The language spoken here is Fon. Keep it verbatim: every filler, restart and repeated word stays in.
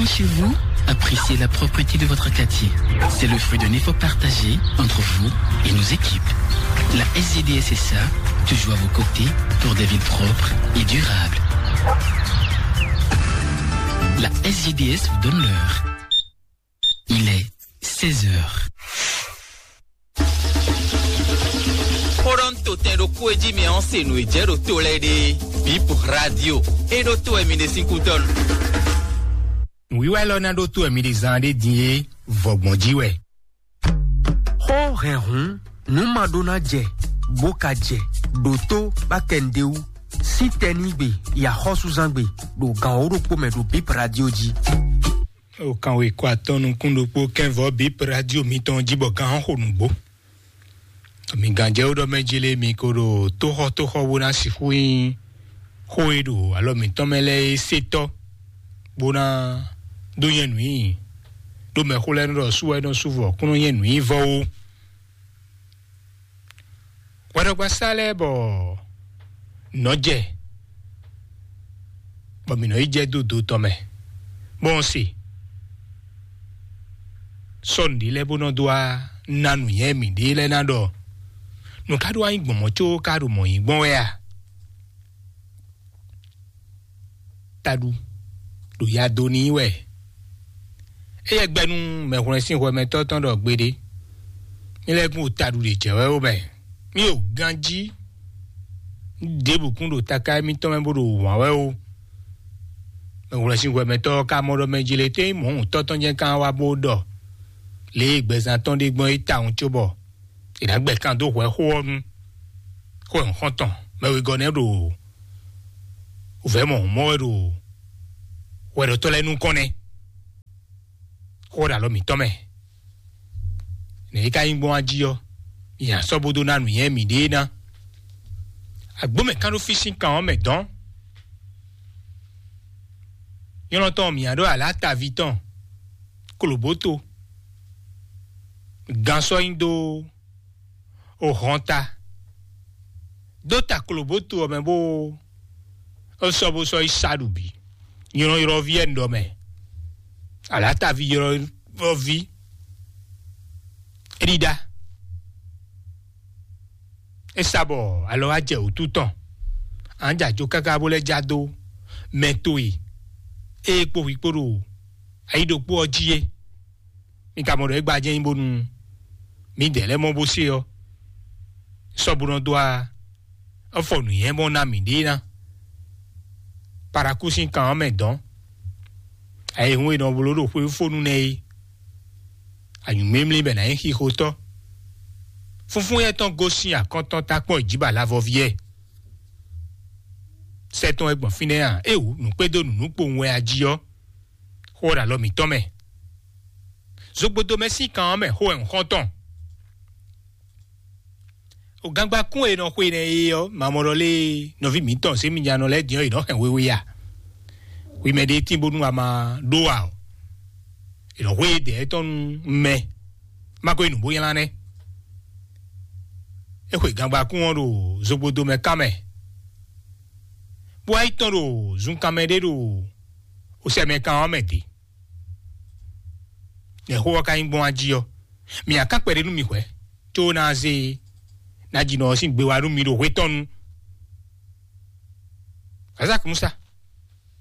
Chez vous, appréciez la propreté de votre quartier. C'est le fruit d'un effort partagé entre vous et nos équipes. La S G D S S A, toujours à vos côtés pour des villes propres et durables. La S G D S vous donne l'heure. Il est seize heures. Xó ɖɔ un to tɛn ɖokpó e jí mi ɔ́ se nǔ e jɛ ɖo to lɛ́ɛ ɖe. Bip Radio. É ɖó to wɛ mi ɖe sín kútɔ́ nu. Nǔwiwa élɔ́ ná ɖó to wɛ mi ɖe zán ɖé din é, vɔgbɔn jí wɛ. Xó hɛn hǔn, nǔ ma ɖó ná jɛ, bó ka jɛ, ɖǒtó bá kɛ nǔɖé wú. Sín tɛnígbe, yi axɔ́súzángbe, ɖo gan wǒ ɖokpó mɛ ɖo Bip Radio jí. O kan wěkɔ atɔn nukún ɖokpó kɛnvɔ Bip Radio mitɔn jí bɔ gán xo nǔgbó. Mi gǎnjɛwú ɖɔ mɛ jí lé mi ko ɖo tóxɔtóxɔ bó ná sixú nyí xó e ɖo alɔ mǐtɔn mɛ lɛ́ɛ é sétɔ́, bó ná dó nyɛ nǔ nyi ɖó mɛxó lɛ́ɛ nɔ ɖɔ sú wɛ nɔ sú vɔ kún nɔ nyɛ nǔ nyi vɔ ó. Hwɛɖɔgbasá lɛ́ɛ bɔ nɔ́ jɛ, bɔ mǐ nɔ yi jɛ dó do tɔn mɛ, bɔ un se sɔ́ nǔɖé lɛ́ɛ bó nɔ dó wá ná nǔnywɛ́ mǐɖée lɛ́ɛ ná ɖɔ nǔ ká ɖó wá nyí gbɔn mɔ̌ có ká ɖo mɔ̌ nyí gbɔn wɛ a? Taɖu ɖo ya dó n'i wɛ. Éyɛ́ gbɛ́ nú mɛhwlɛ́n sín hwɛmɛtɔ́ tɔn ɖɔ gbeɖé. Mí lɛ́ kún ɖo taɖu ɖě jɛ wɛ ó mɛ. Mí ɖo ganjí ɖěbǔ kún ɖo taká émítɔn mɛ bó ɖo wǎn wɛ ó. Mɛhwlɛ́n sín hwɛmɛtɔ́ ɔ́ ka mɔ ɖɔ mɛ jí lě tɛ́ nyí mɔ̌huntɔ́ tɔn jɛ́n ká wá bó ɖɔ lě e gbɛzán tɔn ɖe gbɔn é tawun cóbɔ è nǎ gbɛ kan dó hwɛ xó ɔ́ nu. Xó e un xɔ́n tɔn mɛ wegɔ́ nɛ́ ɖo vɛ̌ mɔ̌ mɔ wɛ ɖo hwɛɖɔtɔ́ lɛ́ɛ nukɔn nɛ́. Xó ɖo alɔ mǐtɔn mɛ. Nɛ̌ é ka nyí gbɔn wá jí ɔ́, nya sɔ́ bó dó ná nǔnywɛ́ mǐɖée ná. Agbǒ mɛ kán ɖó fí sín kan ɔ́ mɛ dɔn. Nyɔlɔn tɔn mǐa ɖó alǎ taví tɔn, klobǒto, gan sɔ́ nyi dó o hɔn ta. Dó ta klobǒto ɔ́ mɛ bó é sɔ́ bó sɔ́ yi sa ɖu bǐ. Nylɔ́nylɔ́ví wɛ un ɖɔ mɛ. Alǎtaví ylɔ́ví é ɖíɖá. É sa bɔ alɔ wá jɛ wǔtu tɔn. An jɛ ajo káká bó lɛ́ já dó mɛ towe ée kpó hwi kpó ɖo ayi ɖokpó ɔ́ jí é. Mi ka mɔ ɖɔ é gbajɛ nyi bónú mǐdɛɛ lɛ́ɛ mɔ bó se ɔ́, sɔ́ bó nɔ dó a ɔ́ fɔ nǔnywɛ́ mɔ ná mǐɖée ná. Paraku sín kan ɔ́ mɛ dɔn. Ayihún e nɔ bló ɖo xwéfónú nɛ́ é. Anyǔmímlí bɛ ná nyí xixotɔ́. Fúnfún yɛ tɔn gosín akɔ́ntɔn takpɔ́n jí ba lavɔví yɛ. Sɛ tɔn wɛ gbɔn fínɛ́ a? Éwú nǔkpédó nǔnúkpowun wɛ a jí ɔ́, xó ɔ́ ɖo alɔ mǐtɔn mɛ. Zogbodo mɛ sín kan ɔ́ mɛ xó wɛ un xɔ́n tɔn. O gangbakún e nɔ xwe nɛ é ɔ́, mamɔɖɔ lé nɔví mǐtɔn Zémijanɔ lɛ́ɛ din ɔ́, è nɔ hɛn wewe a? Hwi mɛ ɖé tín bónú a ma ɖó a ɔ́, è nɔ xwe dɛ̌ tɔn nú mɛ, má ko yi nǔ bó nylá nɛ́. É xwe gangbakún ɔ́ ɖo zogbodo mɛ kán mɛ, bó wá yi tɔn ɖo zunkan mɛ ɖé ɖo osɛmɛkan ɔ́ mɛ dě. Nɛ̌ xó ɔ́ ka nyí gbɔn wá jí ɔ́? Mi akán kpɛɖé nú mi hwɛ̌, có ná zé ná ji nɔ ɔ́ sín gbe wá nú mi ɖo hwetɔ́nu. Azak Musa,